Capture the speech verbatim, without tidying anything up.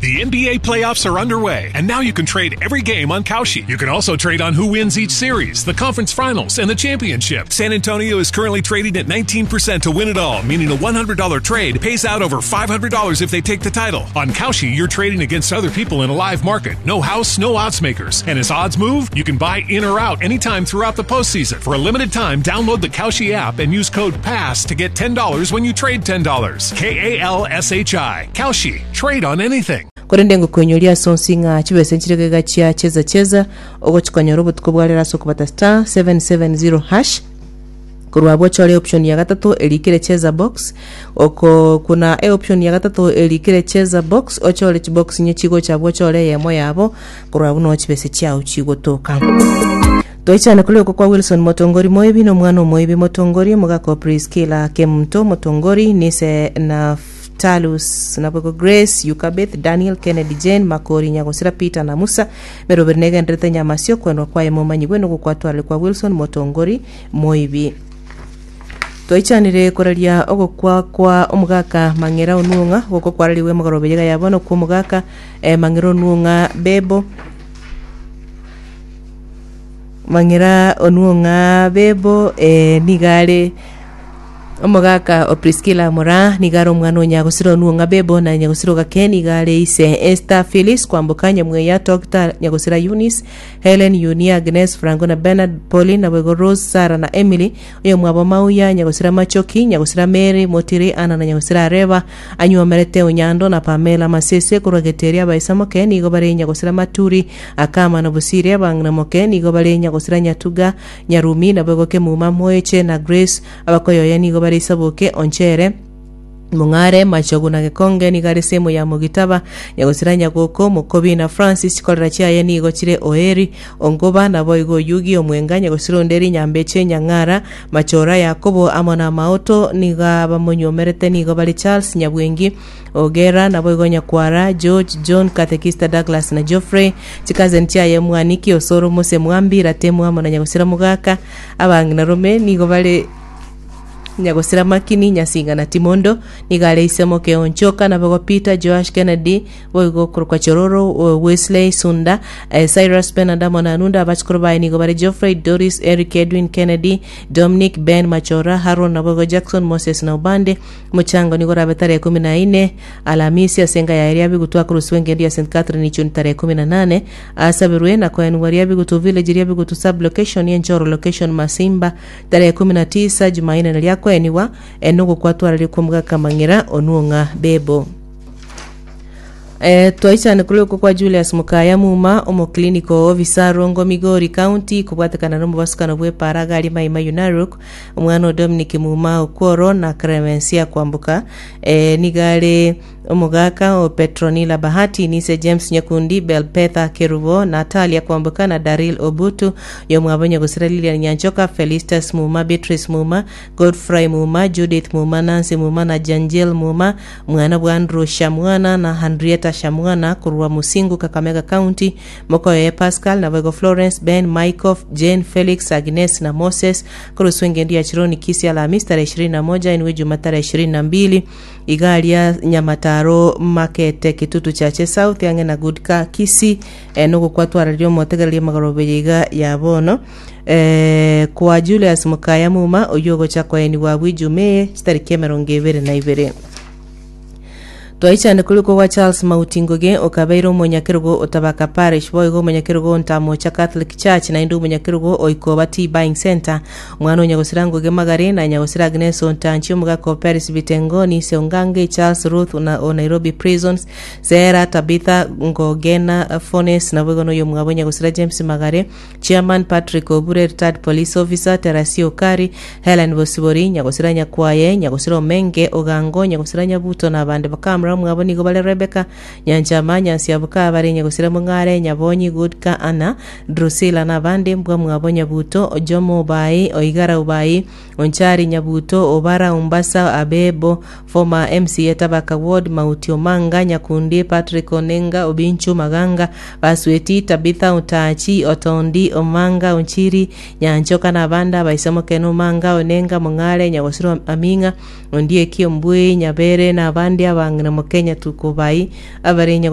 The N B A playoffs are underway, and now you can trade every game on Kalshi. You can also trade on who wins each series, the conference finals, and the championship. San Antonio is currently trading at nineteen percent to win it all, meaning a one hundred dollar trade pays out over five hundred dollars if they take the title. On Kalshi, you're trading against other people in a live market. No house, no odds makers. And as odds move, you can buy in or out anytime throughout the postseason. For a limited time, download the Kalshi app and use code PASS to get ten dollars when you trade ten dollars. K A L S H I. Kalshi. Trade on anything. Korende ngokoinyoria ase onsi ng'a chibesa nchire gega chia cheza cheza ogochikonyora obotuko bwarera ase okobata star seven seven zero hash. Korwa abwo ochore option ya gatato erikire cheza box. Oko kuna e option ya gatato erikire cheza box, ochore chibox nye chigocha abwo, ochore eyemo yabo. Korwa abwo no chibesa chiao chigotoka. Toichane kuri oko kwa Wilson Motongori Moibi na omwana omoibi Motongori, omogaka Priscilla Kemunto Motongori, nise Naftalus nabwego Grace Yukabeth Daniel Kennedy Jane Makori Nyagosira Peter na Musa meroberi negenderete nyamasio kwendwa kwaye momanyigwe nogokwatwarire kwa Wilson Motongori Moibi. Twaichanire koraria ogokwa kwa omogaka Mang'era Onuong'a goko kwarariwe mogorobe yega yabono kwa omogaka eh, Mang'era Onuong'a Bebo. Mang'era Onuong'a Bebo eh, nigare omogaka o Priscilla Mora, nigare omwana o Nyagosira Onuong'a Bebo na Nyagosira Gake, nigare ise Esther Phyllis Kwamboka Nyamweya Dr Nyagosira Eunice Helen Yunia Agnes Franco na Bernard Pauline na bwego Rose Sara na Emily oyo mwabo Mauya Nyagosira Machoki Nyagosira Mary Motiri Ana na Nyagosira Areba anyuomerete Onyando na Pamela Masese korwa Geteria. Abaisamoke nigo bare Nyagosira Maturi Akama na Busiri. Abang'ina moke nigo bare Nyagosira Nyatuga Nyarumi na bwego Kemuma Moeche na Grace. Abakoyoya nigo bare Isaboke Onchere Mong'are Machogu na Gekonge, nigo are semo ya Mogitaba Nyagosira Nyagoko Mokobi na Francis. Chikorera chiaye nigo chire Oeri Ongoba naboigo Oyugi Omwenga Nyagosira Onderi Nyambeche Nyang'ara Machora Yakobo amo na Maoto. Nigo abamonyuomerete nigo bare Charles Nyabwengi Ogera naboigo Nyakwara George John Cathechista Douglas na Geoffrey. Chikazen chiaye Mwaniki Osoro Mose Mwambi Ratemu amo na Nyagosira Mugaka. Abang'ina rome nigo bare Nyagosira Makini Nyasinga na Timondo, nigo Isemoke Onchoka nabogo Peter Joash Kennedy boigo korokwa Chororo uh, Wesley Sunda eh, Cyrus Benard amo na Anunda. Abachikoro baye nigo bare Geoffrey Doris Eric Edwin Kennedy Dominic Ben Machora Haron nabogo Jackson Moses na Obande. Mochango nigo rabe tarehe kumi na ine Alamisi asenga ya eria bigutu akoroswa engendu ya Saint Catherine Ichuni tarehe kumi na nane asabirwe na koenwa ria bigutu village ria bigutu sub location yenchoro location Masimba tarehe kumi na tisa Jumaine na ria koeniwa enogo kwatwarari kumgaka Mang'era Onuong'a Bebo. Eh, twaichane kuri uko kwa Julius Mukaya Muma omoclinical officer Rongo Migori County kobwatekana n'omobasukano bw'epara gari Maima Narok omwana o Dominic Muma Okworo na Clemencia Kwambuka eh, nigare omogaka o Petronila Bahati nise James Nyakundi Belpetha Kerubo Natalia Kwambuka na Daril Obutu yomwabo Nyagosira Lilian Nyanchoka Felistas Muma Beatrice Muma Godfrey Muma Judith Muma Nancy Muma na Janjel Muma mwana bwa Andrew Shamwana na Henrietta Shamwana kurwa Musingu Kakamega County. Mokoye Pascal na Wego Florence Ben Michael Jane Felix Agnes na Moses kuruswa engendu ya Chironi Kisi Alhamisi tarehe ishirini na moja inwe Juma tarehe ishirini na mbili igaria Nyamataro Makete Kitutu Chache South yange na Goodka Kisi eh, nugo kwatwarario motegereria magorobe iga ya bono eh, kwa Julius Mukaya Muma oyo ogocha koeniwa bwijume chitariki emerongo ebere na ibere. Twaichane kuliko kwa Charles Mauti Ngugi okabeire omonyakerugo otabaka parish boigo omonyakerugo Ntamocha Catholic Church naende omonyakerugo oikoba Tea Buying Center. Omwana onyagosira Ngugi Magare na nyagosira Agnes Ontanchi. Omogaka o Paris Bitengoni Seongange Charles Ruth na o Nairobi Prisons Sera Tabitha Ngogena Fones naboigo noyo mwabo nyagosira James Magare Chairman Patrick Obure retired police officer Terasio Okari Helen Bosibori nyagosira Nyakwaye nyagosira Omenge Ogango nyagosira Nyabuto na abande bakamra mwabo nigo bare Rebecca Nyanchama Nyansiabuka bare nyagosira Mung'are Nyabonyi Goodka Anna Drusilla na abande mbwa mwabo Nyabuto Ojomo Obai Oigara Obai Onchari Nyabuto Obara Umbasa Abebo former M C A Tabaka Ward Mauti Omanga Nyakundi Patrick Onenga Obinchu Maganga Basweti Tabitha Utachi Otondi Omanga Onchiri Nyanchoka na abande abaisomokeno Omanga Onenga Mung'are Nyagosiro Aminga Ondieki Ombui Nyabere na abande abang'ina Mokenya Tukubai abare.